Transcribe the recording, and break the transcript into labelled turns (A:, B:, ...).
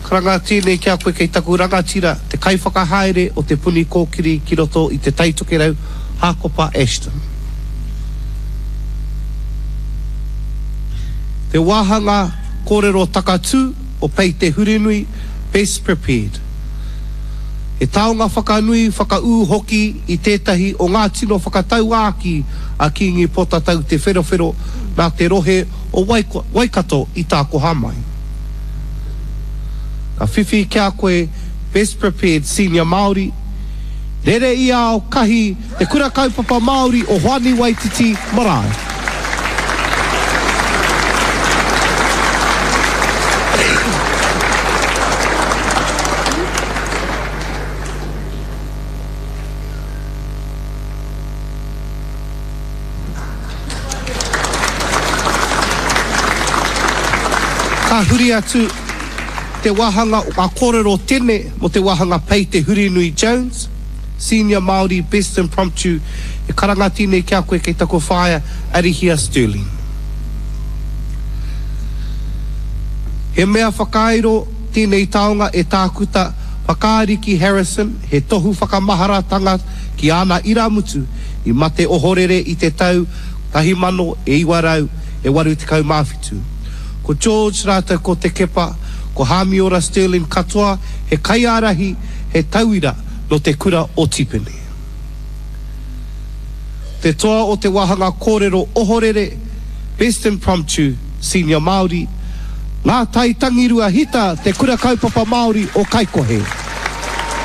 A: Karanga tēnei ki a koe kei taku rangatira, te kaiwhakahaere o Te Puni Kōkiri ki roto i Te Tai Tokerau, Hākopa Ashton. Te wāhanga kōrero takatū o Pei Te Hurinui, Best Prepared. He taonga whakanui, whakaū hoki i tētahi o ngā tino whakatauākī a Kīngi Potatau Te Wherowhero nā te rohe o Waikato i tākoha mai. Ka whiwhi ki a koe Best Prepared Senior Māori, Rere i ao kahi Te Kura Kaupapa Māori o Hoani Waititi Marae. Ka huri atu te wāhanga o ngā kōrero tene mō te wāhanga Pei Te Hurinui Jones, Senior Māori Best Impromptu, e karanga tēnei ki a koe kei taku whaea Arihia Stirling. He mea whakairo tēnei taonga e Tākuta Whakaariki Harrison, he tohu whakamaharatanga ki āna irāmutu i mate ohorere i te tau 1987. Ko George rātou ko Te Kepa, ko Hāmiora Stirling katoa he kaiārahi, he tauira nō te kura o Tipene. Te toa o te wāhanga kōrero ohorere, Best Impromptu, Senior Māori, Ngā Tai Tangirua Hita Te Kura Kaupapa Māori o Kaikohe.